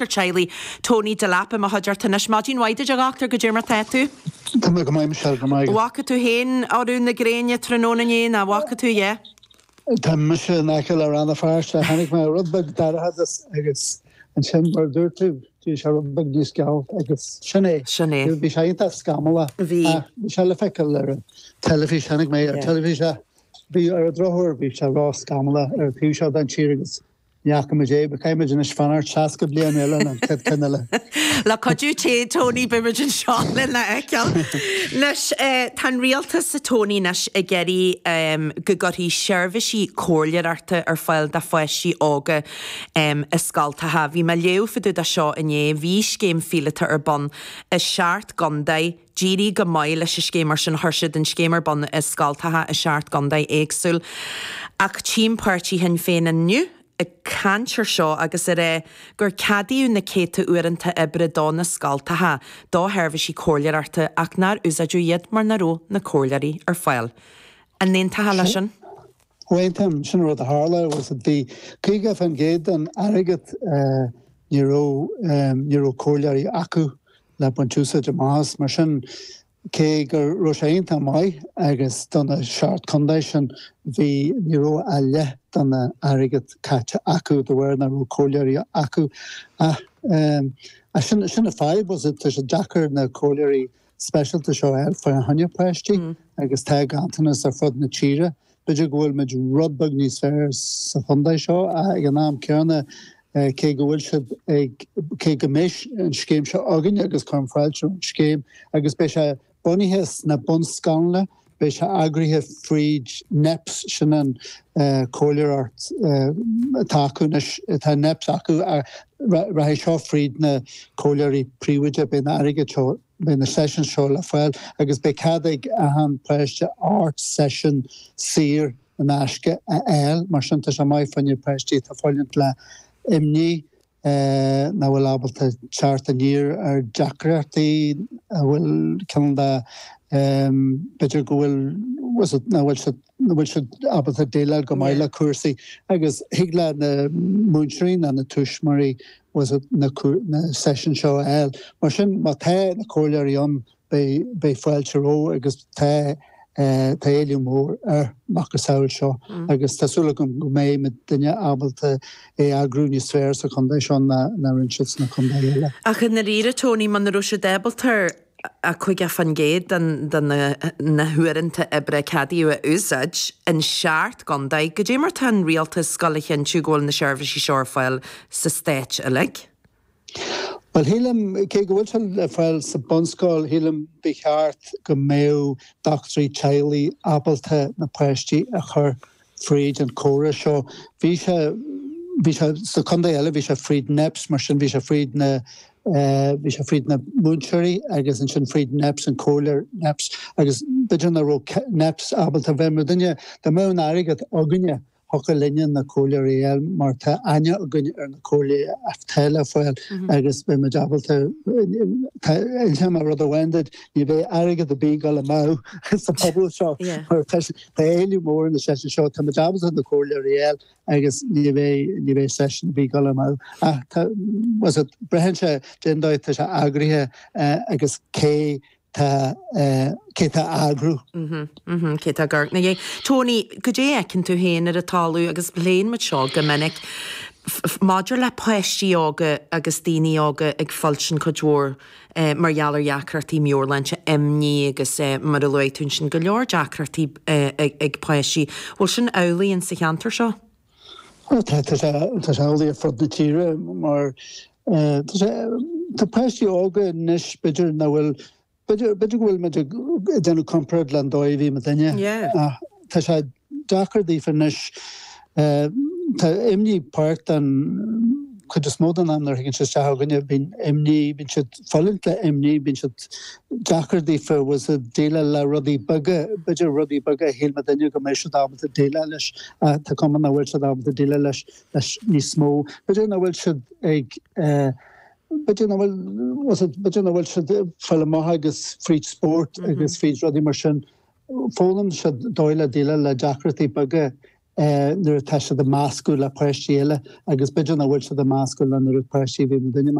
Teaghlaigh Tony Delap i mo chuideachta anois. Maidin mhaith duit a dhochtúir, goidé mar tá tú? Tá mé go maith Michelle, go maith agat. Bhfaca tú féin urú na gréine tráthnóna inné, nach bhfaca tú, yeah? Tá mise in aice le Rann na Feirste, chonaic mé rud beag dorchadas agus ansin mar a dúirt tú, bhí sé rud beag níos geal agus sin é. Sin é. Bhí sé iontach scamallach. Bhí. Ach bhí sé le feiceáil ar an teilifís, chonaic mé ar an teilifís é. Bhí ar an drochuair bhí sé ró-scamallach ar an taobh seo den tír agus Ní fhaca muid é, but caithfidh muid anois fanacht 60 bliain eile an chéad ceann eile. Le cuidiú Dé, Tony, beidh muid anseo lena fheiceáil. Anois, tá an rialtas, a Tony, anois ag iarraidh go gcuirfí seirbhísí comhairleoireachta ar fáil do pháistí óga i scoltacha. Bhí mé ag léamh fá dtaobh de seo inné. Bhí scéim phíolótach ar bun i seacht gcontae. D'éirigh go maith leis an scéim mar sin chuir siad an scéim ar bun i scoltacha i seacht gcontae éagsúil. Ach tchím páirtí Shinn Féin inniu ag caint ar seo agus ag rá gur ceadaíodh na céadta uaireanta oibre do na scoltacha do sheirbhísí comhairleoireachta ach nár úsáideadh iad mar nach raibh na comhairleoirí ar fáil. An n-aontófá leis sin? Aontaím, sin an rud a tharla, was it bhí 50% den airgead ní raibh ní raibh comhairleoirí acu le baint úsáid amach as. Mar sin cé go raibh sé iontach maith agus do na seacht contae sin bhí ní raibh a leath den airgead caite acu de bharr nach raibh comhairleoirí acu. Ach sin sin an fadhb was it tá sé deacair na comhairleoirí speisialta seo a fháil fá choinne páistí agus tá ganntanas ar fud na tíre. B'fhéidir go bhfuil muid rud beag níos fearr sa chontae seo ach ag an am céanna cé go bhfuil siad ag, cé go mbeidh an scéim seo againn agus cuirim fáilte roimh an scéim agus beidh sé bunaithe sna bunscoileanna, beidh sé eagraithe fríd NEPS, sin an comhairleoireacht atá acu anois, tá NEPS acu ach rachaidh seo fríd na comhairleoirí príomhoide, beidh an airgead seo. Beidh na sessions seo le fáil agus beidh cead ag achan páiste 8 seisiún saor in aisce a fháil. Mar sin tá sé maith fá choinne páistí atá ag fulaingt le imní, nach bhfuil ábalta teacht aniar ar deacrachtaí, a bhfuil cineál de, b'fhéidir go bhfuil, nach bhfuil siad, nach bhfuil siad ábalta déileáil go maith le cúrsaí agus thig le na múinteoirí nó na tuismitheoirí was it na na seisiúin seo a fháil. Mar sin má tá na comhairleoirí ann beidh beidh fáilte rompu agus tá tá éileamh mór ar macasamhail seo agus tá súil agam go mbeidh muidinne ábalta é a eagrú níos fearr sa chontae seo ná ná rinne siad sna contaetha eile. Ach i ndáiríre Tony, muna raibh siad ábalta 50% de na huaireanta oibre a ceadaíodh a úsáid in seacht gcontae. Goidé mar tá an rialtas ag gabháil a chinntiú go bhfuil na seirbhísí seo ar fáil sa stát uilig? Bhuel, shílim, cé go bhfuil sé le fáil sa bunscoil, shílim ba cheart go mbeadh dochtúirí teaghlaigh ábalta na páistí a chur fríd an córas seo. Bhí sé, bhí sé, sna contaetha eile bhí sé fríd NEPS, mar sin bhí sé fríd na, bhí sé fríd na múinteoirí agus ansin fríd NEPS, an comhairleoir NEPS agus b'fhéidir nach raibh NEPS ábalta bheith mar duine, dá mbeadh an airgead againne, thiocfadh linne na comhairleoirí a fháil mar tá aithne againn ar na comhairleoirí atá le fáil agus beidh muid ábalta, tá, inseoidh mé rud amháin duit, ní bheidh airgead ar bith ag dul amú sa phobal seo mar tá Tá éileamh mór ar na seisiúin seo, tá muid ábalta na comhairleoirí a fháil agus ní bheidh, ní bheidh seisiún ar bith ag dul amú. Ach tá, was it, braitheann sé cén dóigh atá sé eagraithe agus cé tá, cé tá á eagrú. Mhm, cé tá ag amharc ina dhiaidh. Tony, goidé a fheiceann tú féin ar an talamh agus pléann muid seo go minic, maidir le páistí óga agus daoine óga ag fulaingt cuid mhór mar gheall ar dheacrachtaí meabhairshláinte, imní agus mar a luaigh tú ansin, go leor deacrachtaí ag páistí. Bhfuil sin amhlaidh in sa cheantar seo? Tá, tá sé, tá sé amhlaidh ar fud na tíre mar tá sé, tá páistí óga anois b'fhéidir nach bhfuil, b'fhéidir, b'fhéidir go bhfuil muid ag déanamh comparáid le an dóigh a bhí muidinne ach tá sé deacair daofa anois. Tá imní páirt den chuid is mó den am nuair a thagann siad isteach chugainne, bíonn imní, bíonn siad ag fulaingt le imní, bíonn siad deacair daofa was it déileáil le rudaí beaga, b'fhéidir rudaí beaga a shíl muidinne go mbeadh siad ábalta déileáil leis ach tá cuma nach bhfuil siad ábalta déileáil leis leis níos mó. B'fhéidir nach bhfuil siad ag b'fhéidir nach bhfuil was it b'fhéidir nach bhfuil siad ag fáil amach agus fríd spórt agus fríd rudaí mar sin. Foghlaim siad dóigh le déileáil le deacrachtaí beaga. nuair atá siad ag meascadh le páistí eile agus b'fhéidir nach bhfuil siad ag meascadh le an oiread páistí a bhí muidinne.